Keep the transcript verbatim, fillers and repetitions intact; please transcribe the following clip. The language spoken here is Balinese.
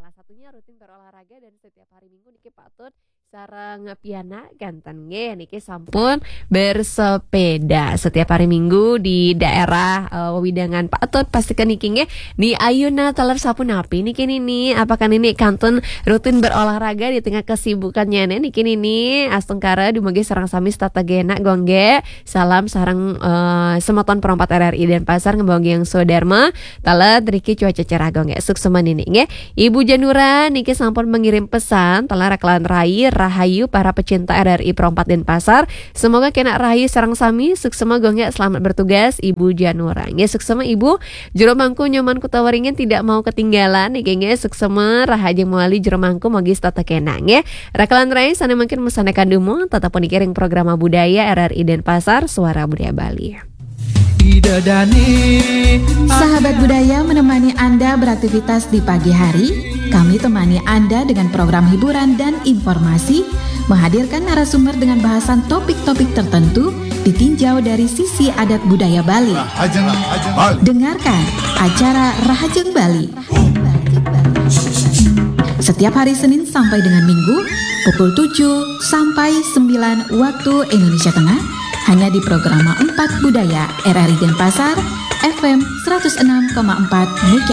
Satunya rutin berolahraga dan setiap hari Minggu niki patut sareng pianak kanten nggih, niki sampun bersepeda setiap hari Minggu di daerah eh, wewidangan Pak Atut. Pastikan niki nggih, ni ayuna taler sapunapi niki nini, apakah nini kantun rutin berolahraga di tengah kesibukannya nih niki nini? Astungkara dumugi sareng sami setata genah gongge. Salam sareng eh, semeton perompat R R I Denpasar ngembanggi yang Sodarma. Taler riki cuaca cerah gongge, suksema nini nggih. Ibu Janura niki sampun mengirim pesan, taler rakelan rai rahayu para pecinta R R I Perompat Denpasar. Semoga kena rahayu sareng sami, suksema gongge, selamat bertugas Ibu Janura. Nggih, suksema Ibu. Jero mangku Nyoman Kutawaringin tidak mau ketinggalan niki nggih, suksema rahajeng mawali jero mangku mugi setata kena nggih. Rakelan rai sane mangkin mesane kandumun, tetap niki ring programa budaya R R I Denpasar, Suara Budaya Bali. Sahabat budaya menemani Anda beraktivitas di pagi hari, kami temani Anda dengan program hiburan dan informasi, menghadirkan narasumber dengan bahasan topik-topik tertentu, ditinjau dari sisi adat budaya Bali. Dengarkan acara Rahajeng Bali setiap hari Senin sampai dengan Minggu pukul tujuh sampai sembilan waktu Indonesia Tengah, hanya di Programa empat Budaya R R I Denpasar, F M seratus enam koma empat MHz.